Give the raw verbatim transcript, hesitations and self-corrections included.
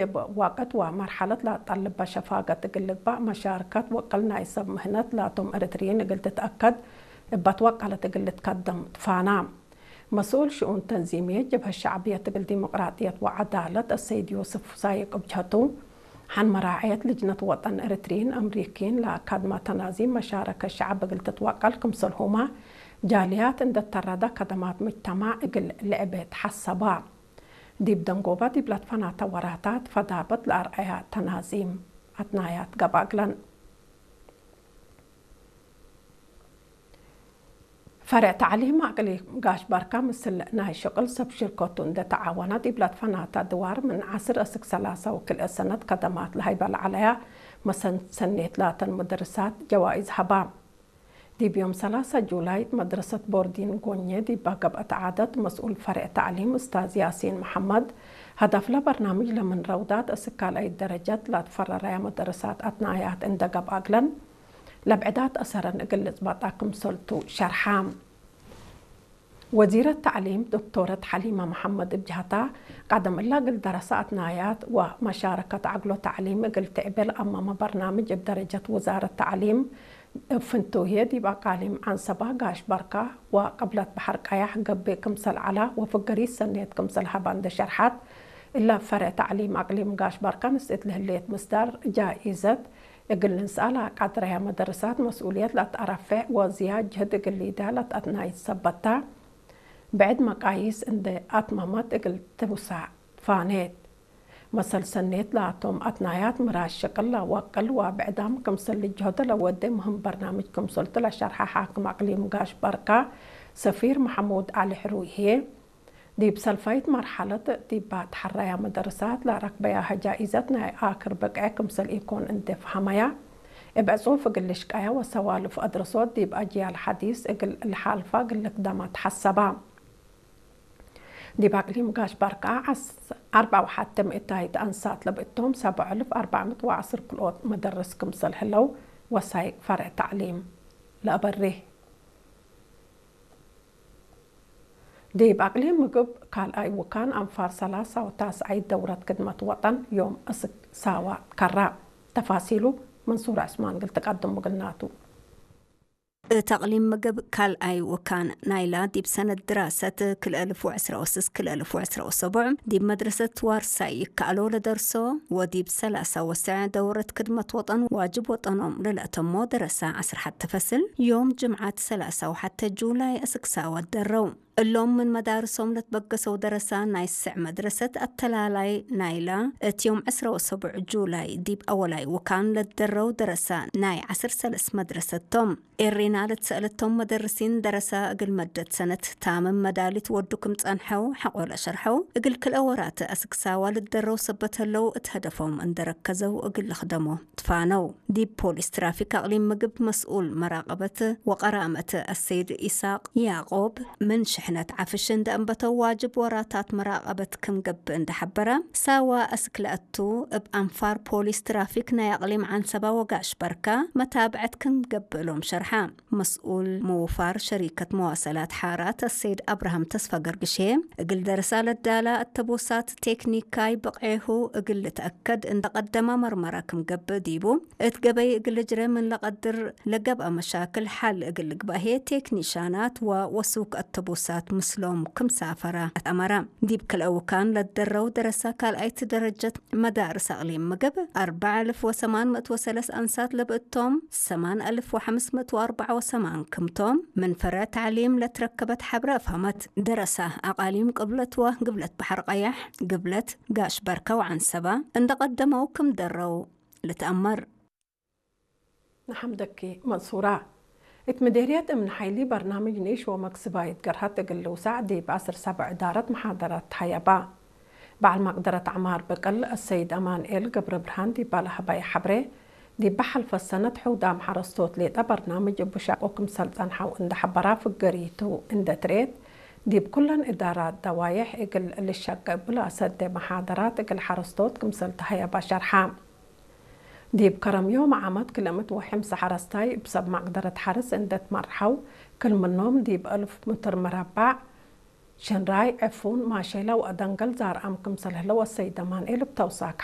እብ ወቅት ወመርሐለት ለአጠልበ ሸፋገት እግል ልግባእ መሻርከት ወቅል ናይ ሰብ ምህነት ላቶም ኤረትርዪን እግል ትትአከድ እበ ትወቀለት እግል ልትከደም ትፋና። መስኡል ሽኡን ተንዚምየት ጀብሀት ሸዕብየት እግል ዲሞቅራጥየት ወዐዳለት አሰይድ ዮስፍ ሳይቅ እብ ጀሀቱ፣ ሐን መራዐየት ልጅነት ወጠን ኤረትርዪን አምሪኪን ለአካድመ ተናዚም መሻረከት ሸዐብ እግል ትትወቀል ክምሰልሁመ፣ ጃልያት እንዴ ተረደ ከደማት ምጅተማዕ እግል ልዕቤ ተሐሰባ። ዲብ ደንጎበ ዲብ ለትፈናተ ወራታት ፈዳበት ለአርአያ ተናዚም አትናያት ገብአ እግለን። ፈርዕ ተዕሊም አቅሊም ጋሽ ባርካ ምስል ናይ ሽቅል ሰብ ሽርከቱ እንዴ ተዓወነ፣ ዲብ ለትፈናተ ድዋር ምን ዐስር እስክ ሰላሳ ወክልኤ ሰነት ከደማት ለሀይበ ለዐለያ መሰል ሰኔት ላተን ሙደርሳት ጀዋይዝ ሀባ። ዲብ ዮም ሰላሳ ጁላይ፣ መድረሰት ቦርዲን ጎኜ ዲባ ገብአት ዓደት፣ መስኡል ፈርዕ ተዕሊም እስታዝ ያሲን መሐመድ፣ ሀደፍለ በርናምጅ ለምን ረውዳት እስክ ካልኣይት ደረጀት ላትፈረረያ መደረሳት አትናያት እንዴ ገብአ እግለን፣ ለብዕዳት አሰረን እግል ልጽበጣ ክምሰልቱ ሸርሐ። ወዚረት ተዕሊም ዶክቶረት ሐሊመ መሐመድ እብ ጀሀታ፣ ቀደም እላ እግል ደረሰ አትናያት ወመሻረከት ዐግሎ ተዕሊም እግል ትዕቤ ለአመመ በርናምጅ እብ ደረጀት ውዛረት ተዕሊም እብ ፍንቱየ ዲብ አቃሊም ዐንሰባ፣ ጋሽ በርካ ወቅብለት በሐር ቀያሕ ገብእ ክምሰል ዐላ ወፍገሪት ሰኔት ክምሰል ሀባ እንዴ ሸርሐት፣ እለ ፈርዕ ተዕሊም አቅሊም ጋሽ በርካ ንስእት ለህሌት ምስዳር ጃኢዘት እግል ልንስአ ለአቃድረያ መደርሳት መስኡልየት ለአትአረፌዕ ወዝያድ ጅህድ እግል ሊዳ ለትአትናይት ሰበት ተ። ብዕድ መቃይስ እንዴ አትመመት እግል ትውሳዕ ፋኔት። መሰል ሰኔት ላቶም አትናያት ምራድ ሽቅል ለወቅል ወብዕዳም ክምሰል ልጅሆደ ለወዴ ምህም በርናምጅ ክምሰልቱ ለሸርሐ ሓክም አቅሊም ጋሽ በርካ ሰፊር መሐሙድ ዐሊ ሕሩይ ህዬ፣ ዲብ ሰልፋይት መርሐለት ዲባ ተሐረያ መደርሳት ለረክበያሀ ጃኢዘት ናይ አክር ብቅዕ ክምሰል ኢኮን እንዴ ፈሀመያ፣ እብ ዕጹፍ እግል ልሽቀያ ወሰዋልፍ አድረሶት ዲብ አጅያል ሐዲስ እግል ለሓልፋ እግል ልክደማ ተሐሰባ። ዲብ አቅሊም ጋሽ በርካ ዐስ-፣ አርበዕ ወሐቴ ምእታይት አንሳት ለብእቶም፣ ሰብዕ አልፍ አርበዕ ምእት ወዐስር ክልኦት መደርስ ክምሰል ህለው ወሳይቅ ፈርዕ ተዕሊም ለአበርህ። ዲብ አቅሊም ምግብ ካልኣይ ውካን አንፋር ሰላሳ ወታስዓይት ደውረት ክድመት ወጠን ዮም እስክ ሳዋ ከራ። ተፋሲሉ መንሱር ዐስማን እግል ትቀድሙ እግልናቱ። እት አቅሊም ምግብ ካልኣይ ውካን ናይላ ዲብ ሰነት ድራሰት ክልኤ አልፍ ወዕስራ ወስስ ክልኤ አልፍ ወዕስራ ወሰቡዕ ዲብ መድረሰት ዋርሳይ ይከአሎ ለደርሶ ወዲብ ሰላሳ ወሰዕ ደውረት ክድመት ወጠን ዋጅብ ወጠኖም ለለአተሞ ደረሳ ዐስር ሐተ ፈስል ዮም ጅምዓት ሰላሳ ወሐተ ጁላይ እስክ ሳዋ ደረው። እሎም ምን መዳርሶም ለትበገሰው ደረሳ ናይ ስዕ መድረሰት አተላላይ ናይላ፣ እት ዮም ዕስራ ወሰቡዕ ጁላይ ዲብ አወላይ ውካን ለትደረው ደረሳ ናይ ዐስር ሰለስ መድረሰት ቶም። ኤሪና ለትሰአለቶም መደርሲን፣ ደረሳ እግል መደት ሰነት ታምም መዳሊት ወዱ ክም ጸንሐው ሐቆ ለሸርሐው፣ እግል ክልኤ ወራት አስክ ሳዋ ልትደረው ሰበት ህለው እት ሀደፎም እንዴ ረከዘው እግል ልክደሞ ትፋነው። ዲብ ፖሊስ ትራፊክ አቅሊም ምግብ መስኡል መራቀበት ወቀራመት አሰይድ ኢሳቅ ያቆብ፣ ምን ሽሕነት ዐፍሽ እንዴ አንበተው ዋጅብ ወራታት መራቀበት ክም ገብእ እንዴ ሐበረ፣ ሳዋ አስክ ለአቱ እብ አንፋር ፖሊስ ትራፊክ ናይ አቅሊም ዐንሰባ ወጋሽ በርካ መታብዐት ክም ገብእ እሎም ሸርሐ። መስኡል ምውፋር ሸሪከት መዋሰላት ሓራት አሰይድ አብርሃም ተስፋ ገርግሼ፣ እግል ደረሳ ለዳላ አተቦሳት ቴክኒካይ ብቅዔሁ እግል ልትአከድ እንዴ ቀደመ መርመራ ክም ገብእ ዲቡ፣ እት ገበይ እግል ልጅረ ምን ለቀድር ለገብአ መሻክል ሐል እግል ልግባእ ህዬ ቴክኒሻናት ወወሱክ አተቦሳት ምስሎም ክም ሳፈረ አትአመረ። ዲብ ክልኤ ውካን ለትደረው ደረሳ ካልኣይት ደረጀት መዳርስ አቅሊም ምግብ አርበዕ አልፍ ወሰማን ምእት ወሰለስ አንሳት ለብእቶም፣ ሰማን አልፍ ወሐምስ ምእት ወአርበዕ ወሰማን ክምቶም ምን ፈርዕ ተዕሊም ለትረከበት ሐብረ አፍሀመት። ደረሳ አቃሊም ቅብለት ወግብለት በሐር ቀያሕ፣ ግብለት፣ ጋሽ በርከ ወዐንሰባ እንዴ ቀደመው ክም ደረው ልትአመር። ነሐምደኪ መንሱራ። እት ምዴርየት እምን ሐይሊ በርናምጅ ኒሽ ወመክስባይት ገርሀት እግል ልውሳዕ ዲብ ዐስር ሰብዕ እዳረት መሓደራት ተሀየባ። በዐል መቅደረት ዐማር ብቅል አሰይድ አማንኤል ገብረብርሃን ዲባ ለሀበየ ሐብሬ፣ ዲብ ሐልፈ ሰነት ሑዳም ሐረስቶት ሌጠ በርናምጅ እቡ ሻቆ ክምሰል ጸንሐው እንዴ ሐበራ ፍገሪቱ እንዴ ትርኤት፣ ዲብ ኩለን እዳራት ደዋዬሕ እግል ልሸቄ እቡ ለአሰዴ መሓደራት እግል ሐረስቶት ክምሰል ተሀየባ ሸርሐ። ዲብ ከረም ዮም ዓመት ክልኤ ምእት ወሐምሳ ሐረስታይ እብ ሰብ መቅደረት ሐርስ እንዴ ትመርሐው፣ ክል ምኖም ዲብ አልፍ ምትር መረባዕ ሽንራይ፣ ዕፉን፣ ማሼላ ወአደንገል ዛርአም ክምሰል ህለው አሰይድ አማንኤል እብ ተውሳክ